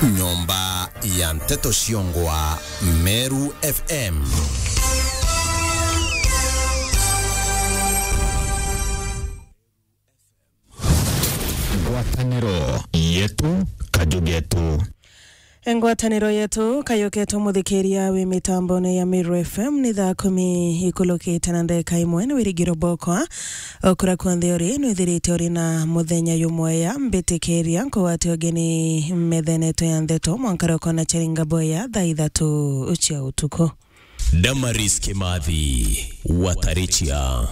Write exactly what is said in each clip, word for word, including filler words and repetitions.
Nyomba ya nteto ciongwa Meru F M. Ngwataniro yetu, kaju getu. Ngwataniro yetu, kaju getu, muthikiria wi mitambone ya Meru F M, ni thaa kumi ikulukite na ndeka imwe. Ni Wirigiro Bokwa. Okura kunthe uri, nwithirite uri na muthenya jumwega. Mbitikiria nkugwate ugeni methene yetu ya nteto mwanka roko na charinga boya thaa ithatu cia utuku. Damaris Kimathi, Watarichia.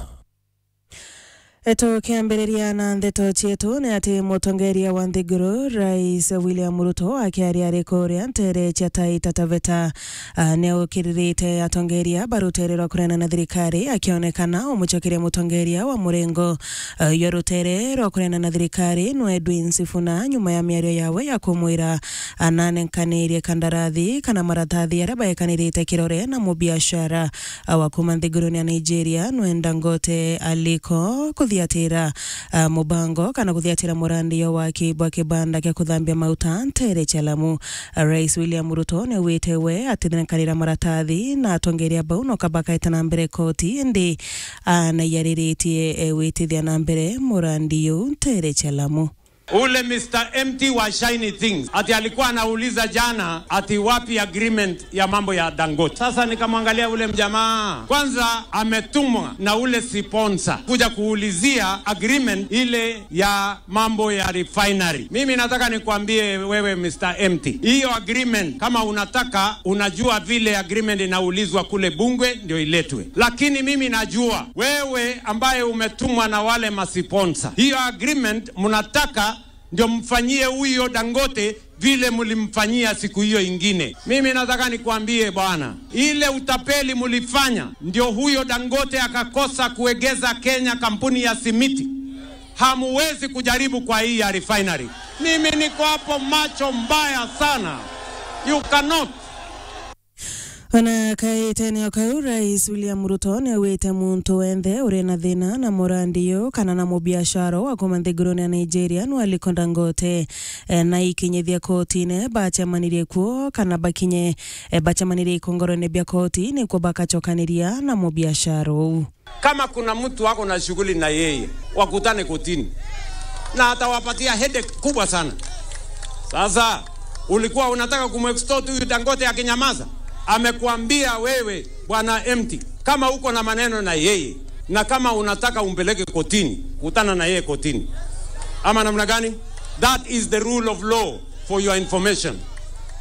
Tukiambiriria na nteto cietu, ni ati mutongeria wa nthiguru, Rais William Ruto, akiaria ari kuria ntere cia Taita Taveta, a, ni aukiririte atongeria ba rutere rwa kurena na thirikari, akionekana umucokeria mutongeria wa murengo, a, yo rutere rwa kurena na thirikari, nwe Edwin Sifuna, nyuma ya miario yawe ya kumwira ananenkanirie kandarathi kana maratathi aria baekanirite kirore na mubiashara wa kuma nthigurune ya Nigeria, nwe Dangote Aliko, kuthiatira, ah, mubango kana kuthiatira murandi yo waki bwa kibanda kia kuthambia mauta ntere cia Lamu. Rais William Ruto ni wite we atinekanira maratathi na atongeria bau no kabakaeta na mbere koti, indi, ah, na yariritie, eh, witithia na mbere murandi yu ntere cia Lamu. Ule Mister Empty wa Shiny Things, ati alikuwa anauliza jana ati wapi agreement ya mambo ya Dangote. Sasa nikamwangalia ule mjamaa, kwanza ametumwa na ule sponsor kuja kuulizia agreement ile ya mambo ya refinery. Mimi nataka nikwambie wewe Mister Empty, hiyo agreement kama unataka, unajua vile agreement inaulizwa kule bunge ndio iletwe. Lakini mimi najua wewe ambaye umetumwa na wale masiponsa, hiyo agreement mnataka ndio mfanyie huyo Dangote vile mlimfanyia siku hiyo ingine. Mimi nataka nikwambie bwana, ile utapeli mlifanya ndio huyo Dangote akakosa kuegeza Kenya kampuni ya simiti. Hamuwezi kujaribu kwa hii ya refinery. Mimi niko hapo macho mbaya sana. You cannot. Ona kaitene o kau, Rais William Ruto ni augite muntu wenthe uri na thina na murandi yu kana na mubiashara wa kuma nthigurune ya Nigeria, nwe Aliko Dangote, eh, na ikinyithia kotine bacemanirie kuo kana bakinye, eh, bacemanirie ikongorone bia koti nikuo bakacokaniria na mubiashara uu. Kama kuna mtu ako na shughuli na yeye, wakutane kotini. Na atawapatia headache kubwa sana. Sasa, ulikuwa unataka kumextort huyu Dangote akinyamaza? Amekuambia wewe, Bwana Empty, kama uko na maneno na yeye, na kama unataka umpeleke kotini, kutana na yeye kotini. Ama namna gani? That is the rule of law, for your information.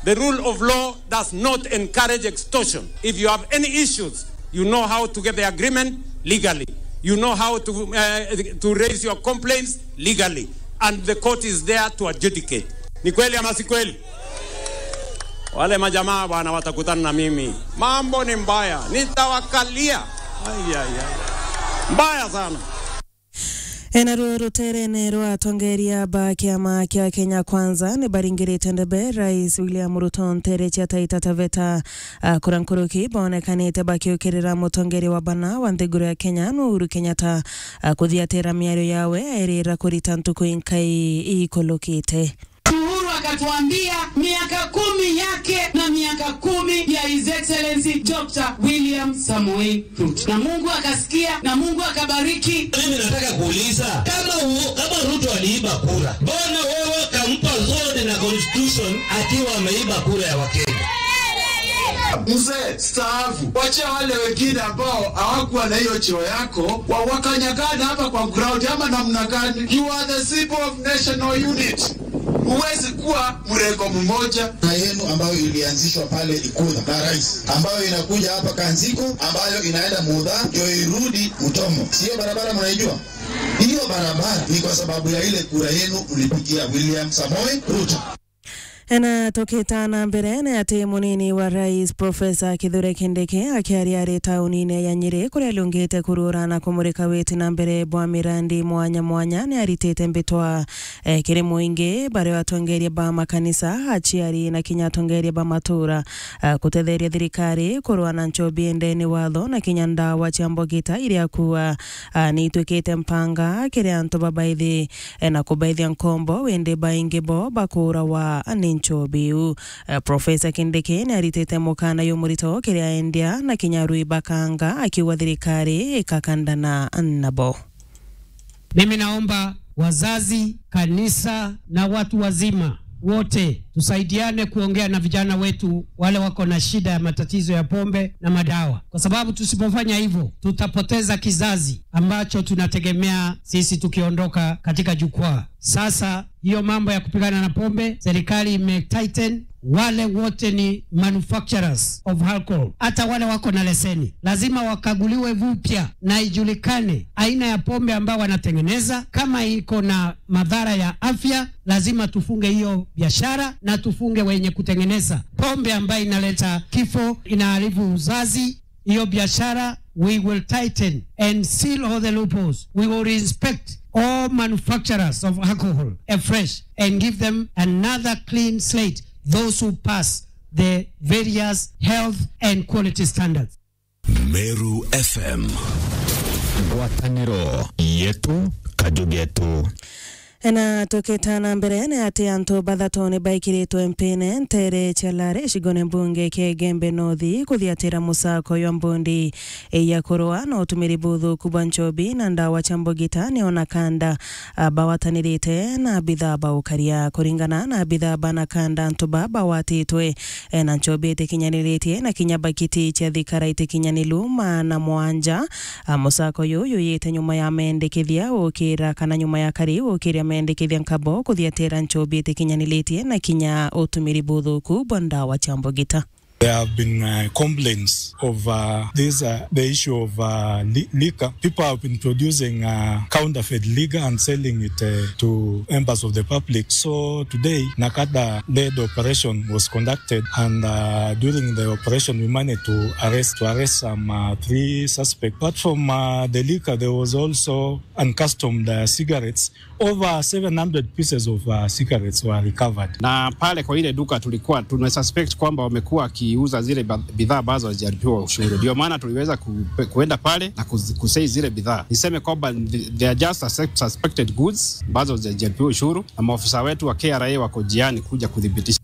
The rule of law does not encourage extortion. If you have any issues, you know how to get the agreement legally. You know how to, uh, to raise your complaints legally. And the court is there to adjudicate. Ni kweli ama si kweli? Wale majamaa bwana watakutana na mimi. Mambo ni mbaya. Nitawakalia. Ai, ai, ai. Mbaya sana. Enaruo ruterene rwa atongeria ba kiama kia Kenya Kwanza ni baringirite ndebe Rais William Ruto ntere cia Taita Taveta. Akura nkuruki bonekanite bakiukirira mutongeria wa bana wa nthiguru ya Kenya, nwe Uhuru Kenyatta, a, kuthiatira miario yawe airira kurita ntuku inkai ikulukite. Uhuru akatuambia miaka kumi yake na miaka kumi ya His Excellency Doctor William Samoei Ruto. Na Mungu akasikia, na Mungu akabariki. Mimi nataka kuuliza, kama u-, kama Ruto aliiba kura, mbona wewe kampa sword na constitution akiwa ameiba kura ya Wakenya? Mzee, staafu. Wacha wale wengine ambao hawakuwa na hiyo cheo yako, wa-, wakanyagana hapa kwa ground ama namna gani? You are the symbol of national unity. Huwezi kuwa mrengo mmoja. Na yenu ambayo ilianzishwa pale Ikudha na rais, ambayo inakuja hapa Kanziko, ambayo inaenda Mudha, ndio irudi Utomo. Sio barabara mnaijua? Hiyo barabara ni kwa sababu ya ile kura yenu mlipigia William Samoei Ruto. Ena tukita na mbere ni ati munini wa rais Professor Kithure Kindiki akiaria ari taunine ya Nyeri kuria aliungite kurura na kumurika witi na mbere bwa mirandi mwanya mwanya ni aritite mbitwa, eh, kiri muingi, baria atongeria ba makanisa, aciari na kinya atongeria ba matura, eh, kutetheria thirikari kurua na nchobi endeni watho na kinya ndawa cia mbogita iria akua, ah, ni itwikite mpanga kiri antu babaithi, eh, na kubaithia nkombo, windi baingi bo bakuurawa ni nchobi iu. Eh, Professor Kindiki ni aritite mukana jumurito kiri aendia na kinya arui ba kanga, akiuga thirikari ikakandana nabo. Mimi naomba wazazi, kanisa na watu wazima wote tusaidiane kuongea na vijana wetu wale wako na shida ya matatizo ya pombe na madawa, kwa sababu tusipofanya hivyo tutapoteza kizazi ambacho tunategemea sisi tukiondoka katika jukwaa. Sasa hiyo mambo ya kupigana na pombe, serikali ime tighten. Wale wote ni manufacturers of alcohol, hata wale wako na leseni, lazima wakaguliwe vupya na ijulikane aina ya pombe ambayo wanatengeneza. Kama iko na madhara ya afya, lazima tufunge hiyo biashara na tufunge wenye kutengeneza pombe ambayo inaleta kifo, inaharibu uzazi, hiyo biashara. We will tighten and seal all the loopholes. We will inspect all manufacturers of alcohol afresh and give them another clean slate, those who pass the various health and quality standards. Meru F M. Ngwataniro yetu, kaju getu. Na tukita na mbere, ni ati antu bathatu ni baikiritwe mpine ntere cia Lare, gicigone mbunge kia Igembe North, kuthiatira musako jwa mbondi ya kurua na utumiri buthuku bwa nchobi na ndawa cia mbugita, ni ona kanda, a, bawatanirite na abithaa ba ukaria. Kuringana na abithaa ba na kanda, antu ba bawatitwe, e, na nchobi itikinyaniritie na kinya bakiti cia thikara itikinyaniru maana mwanja. A, musako uyu uyite nyuma ya mendekithia ukira kana nyuma ya kari ukiria mendekithia nkabo kuthiatira nchobi itikinyaniritie na kinya utumiri buthuku bwa ndawa cia mbugita. There have been, uh, complaints of, uh, this, uh, the issue of, uh, li-, liquor. People have been producing, uh, counterfeit liquor and selling it, uh, to members of the public. So today, NACADA led operation was conducted, and, uh, during the operation, we managed to arrest, to arrest some, uh, three suspects. Apart from, uh, the liquor, there was also uncustomed, uh, cigarettes. Over seven hundred pieces of, uh, cigarettes were recovered. Na pale kwa ile duka tulikuwa tuna suspect kwamba wamekuwa wakiuza zile ba-, bidhaa ambazo hazijalipiwa ushuru. Ndio maana tuliweza ku-, kuenda pale na kuz-, kuseize zile bidhaa. Niseme kwamba they are just sus-, suspected goods ambazo hazijalipiwa ushuru, na maofisa wetu wa K R A wako njiani kuja kuthibitisha.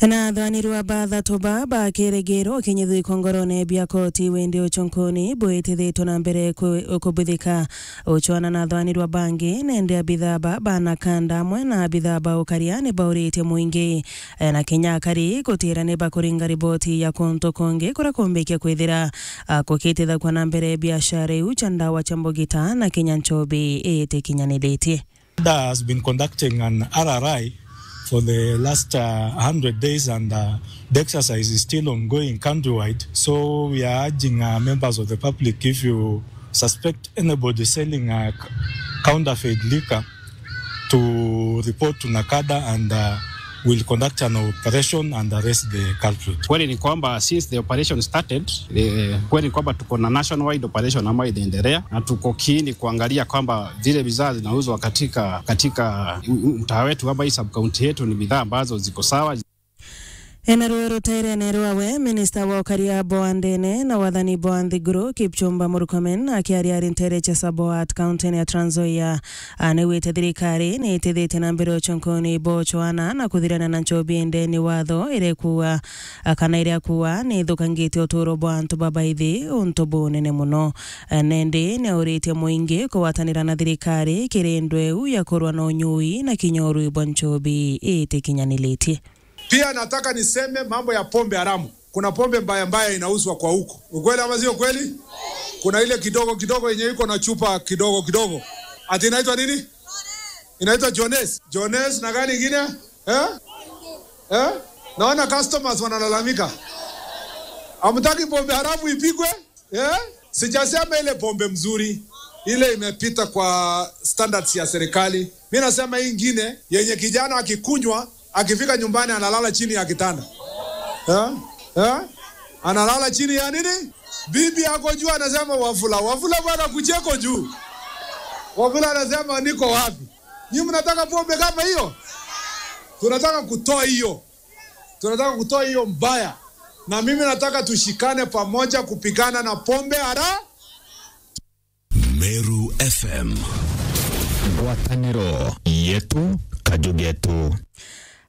Na athwanirwa bathatu ba ba kiregero kinyithu ikongorone bia koti windi uchunkuni bwitithitwe na mbere ku-, kubithika. Uchwana na athwanirwa bangi, nende abithaa ba, ba na kanda amwe na abithaa ba ukaria ni bauritie mwingi, e, na kinya akari gutira ni bakuringa riboti ya kuntu kungi kuria kumbikia kwithira, a, kukitithagwa na mbere biashara iu cia ndawa cia mbugita na kinya nchobi itikinyaniritie. NACADA has been conducting an R R I for the last, uh, hundred days, and, uh, the exercise is still ongoing countrywide. So we are urging, uh, members of the public, if you suspect anybody selling, uh, c-, counterfeit liquor, to report to NACADA, and, uh, we'll conduct an operation and arrest the culprit. Kweli ni kwamba since the operation started, eh, kweli ni kwamba tuko na nationwide operation ambayo inaendelea, na tuko keen kuangalia kwamba zile bidhaa zinauzwa katika, katika u-, u-, mtaa wetu ama hii sub-county yetu ni bidhaa ambazo ziko sawa. Ena ruo ruterene rwawe, minista wa ukaria bwa ndene na wathani bwa nthiguru, Kipchumba Murkomen, akiaria ari ntere cia Saboat, kaunti ya Trans Nzoia, anewite thirikari ni itithitie na mbere uchunkuni bwa uchwana na kuthirana na nchobi ndeni watho iria ikuua, a, kana iria akuuga ni ithukangitie uturo bwa antu babaithi untu bunene muno. A, nendi ni auritie mwingi kugwatanira na thirikari kiri ndweu ya kurwa na unyui na kinya urui bwa nchobi itikinyaniritie. Pia nataka niseme mambo ya pombe haramu. Kuna pombe mbaya mbaya inauzwa kwa huko. Ukweli ama sio kweli? Kuna ile kidogo kidogo yenye iko na chupa kidogo kidogo. Ati inaitwa nini? Inaitwa Jones. Jones na gani ingine? Eh? Eh? Naona customers wanalalamika. Hamtaki pombe haramu ipikwe? Eh? Sijasema ile pombe mzuri. Ile imepita kwa standards ya serikali. Mimi nasema hii ingine yenye kijana akikunywa, akifika nyumbani analala chini ya kitanda. Eh? Eh? Analala chini ya nini? Bibi ako juu anasema, "Wafula, Wafula bwana, kucheko juu." Wafula anasema, "Niko wapi?" Nyinyi mnataka pombe kama hiyo? Tunataka kutoa hiyo. Tunataka kutoa hiyo mbaya. Na mimi nataka tushikane pamoja kupigana na pombe hara- Meru F M. Ngwataniro yetu, kaju getu.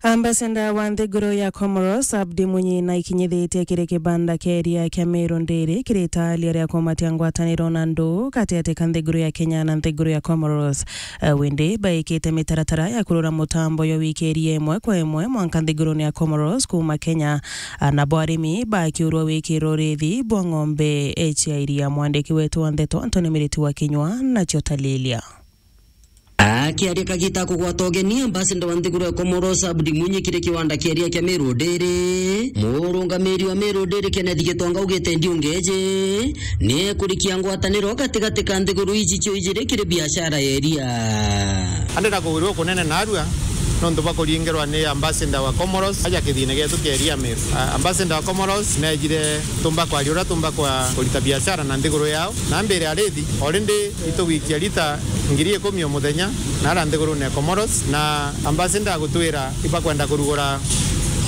Ambassador wa nthiguru ya Comoros, Abdi Mwinyi, naikinyithitie kiri kibanda kia iria kia Meru Ndiri, kiri itaaria ria kumatia ngwataniro na nduu gatiati ka nthiguru ya Kenya na nthiguru ya Comoros. Eh, windi baikite mitaratara ya kurura mutambo jwa wikiria imwe kwa imwe mwanka nthigurune ya Comoros kuuma Kenya. Ah, nabo arimi bakiurwa wikirwo urithi bwa ng'ombe cia iria. Mwandiki wetu wa ndeto Anthony Miriti wa Kinyua nacio talilia. Akiaria kagita kugwata ugeni, ambassador wa nthiguru ya Comoros Abdi Mwinyi kiri kiwanda kia iria kia Meru Ndiri, murungamiri wa Meru Ndiri Kenneth Gitonga augite ndiungeji ni ekurikia ngwataniro gatigati ka nthiguru iji cio ijiri kiri biashara ya iria. Andenda kugwirwa kunene narua nontu bwa kuringirwa ni ambassador wa Comoros aja kithine gietu kia iria Meru. A-, ambassador wa Comoros nejire tumba kwaria uria tumba kwa kurita biashara na nthiguru yao, na mbere arithi already itugwikia lita ngiri ikumi o muthenya na ara nthigurune ya Comoros, na ambassador agutwira ibakwenda kurugura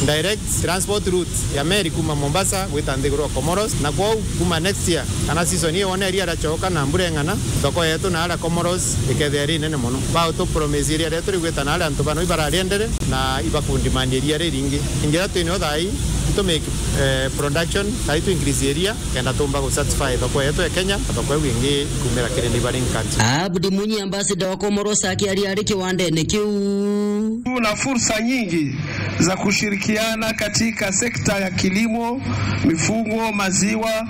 direct transport route ya meri kuma Mombasa gwita nthiguru ya Comoros, na kwou kuma next year kana season iyo wona iria riacoka na mbura ing'ana, thoko yetu na ara Comoros ikethia iri nene mono. Bautu promise iria rietu rigwita na ara antu bano ibarariendere na ibakundimania iria riringi. Ingira twinio thai itu make, eh, production, thai tu increase iria kenda tumba gu satisfy thoko yetu ya Kenya na thoko iu ingi ikumira kiri neighboring country. Abdi Mwinyi, ambassador wa Comoros, akiaria ari kiwandene kiu. Tuna fursa nyingi za kushirikiana katika sekta ya kilimo, mifugo, maziwa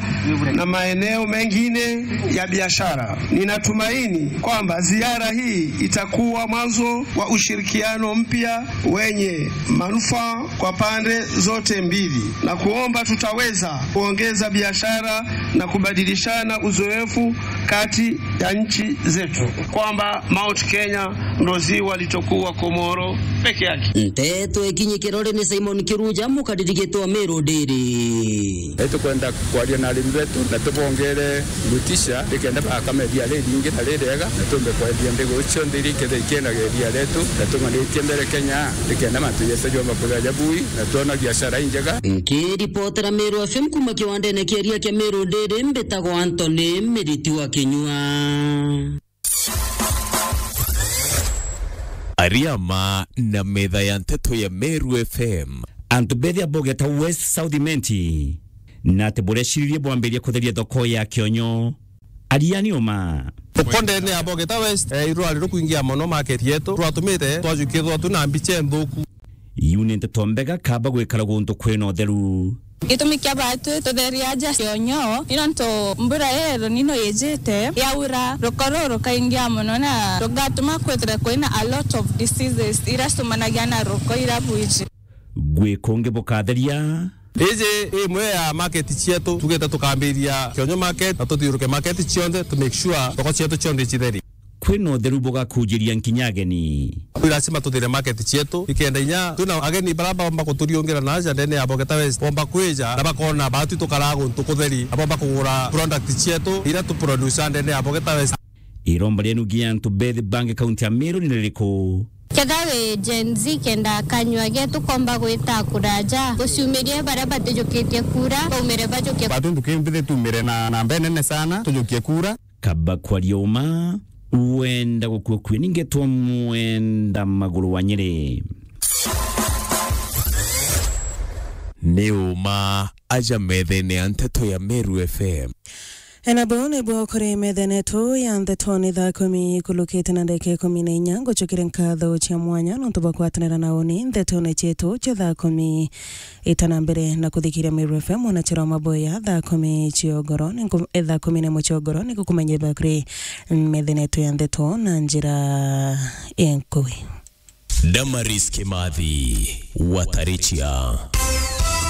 na maeneo mengine ya biashara. Ninatumaini kwamba ziara hii itakuwa mwanzo wa ushirikiano mpya wenye manufaa kwa pande zote mbili, na kuomba tutaweza kuongeza biashara na kubadilishana uzoefu kati ya nchi zetu, kwamba Mount Kenya ndo ziwa litokuwa Komoro peke yake. Nteto ikinyi kirore ni Simon Kiruja, mukariri gitwa Meru Ndiri. Itukwenda kwaria na arimi betu na tubongere motisha, nikenda bakame iria riringi na ririega, na tumbe kwendia nthiguru cionthe iria ikethira ikiendaga iria rietu, na tung'anitie mbere Kenya, nikenda mantu jetu jomba kuria jabui, na twona biashara injega. Nkiripotera Meru F M kuma kiwandene kia iria kia Meru Ndiri, mbitagwa Anthony Miriti wa Kinyua. Ariama na metha ya nteto ya Meru F M. Antu bethia Bogeta West South Imenti, na ati bureciririe bwambirie kutheria thoko ya Kionyo. Ariani uma. Thoko ndene ya Bogeta West, eh, irwari rukwingia mono market yetu, rwatumite twajukia thwatu na mbicha nthuku. Iu ni nteto mbega kaba gwikara guntu kwina utheru. Gitumi kia batu tutheria aja Kionyo, ni nontu mbura ya El Nino ijite, yaura, ruko ruru rukaingia mono na rugatuma kwithira kwina a lot of diseases iria ciumanagia na ruko iria bwiji. Gwi kungi bukatheria. Iji imwe ya market cietu, tugite tukambiria Kionyo market na tuthiuruke market cionthe to make sure thoko cietu cionthe icitheri. Kwina utheru bugakujiria nkinya ageni. Ni lazima tuthire market cietu, ikenda inya twina ageni bara baomba kuturiungira na aja ndene ya Bogeta West, bomba kwija na bakona batu tukaraga guntu kutheri, na bomba kugura product cietu iria tu produce ndene ya Bogeta West. Iromba rienu gia antu bethi bangi kaunti ya Meru ni ririku? Ketha wi Gen Z kenda kanyua getu komba gwita kuraja, guciumirie baria batijukitie kura, baumire bajukie. Batu nduki mbithi tumire na namba nene sana, tujukie kura. Kaba kwaria uma, wenda gukua kwi ningetwa mwenda maguru wa Nyeri. Ni uma aja methene ya nteto ya Meru F M. Ena bau nibuo kuri methene yetu ya nteto ni thaa kumi ikulukite na ndagika ikumi na inya. Ngucukire nkatho cia mwanya nontu bwa kwatanira na uni ntetone cietu cia thaa kumi. Itana mbere na kuthikiria Meru F M, mwanachara wa maboya, thaa kumi ciogoro, ninku-, eh, thaa kumi na imwe ciogoro, nikukumenyithia bakuri methene yetu ya nteto na njira inkui. Damaris Kimathi, Watarichia.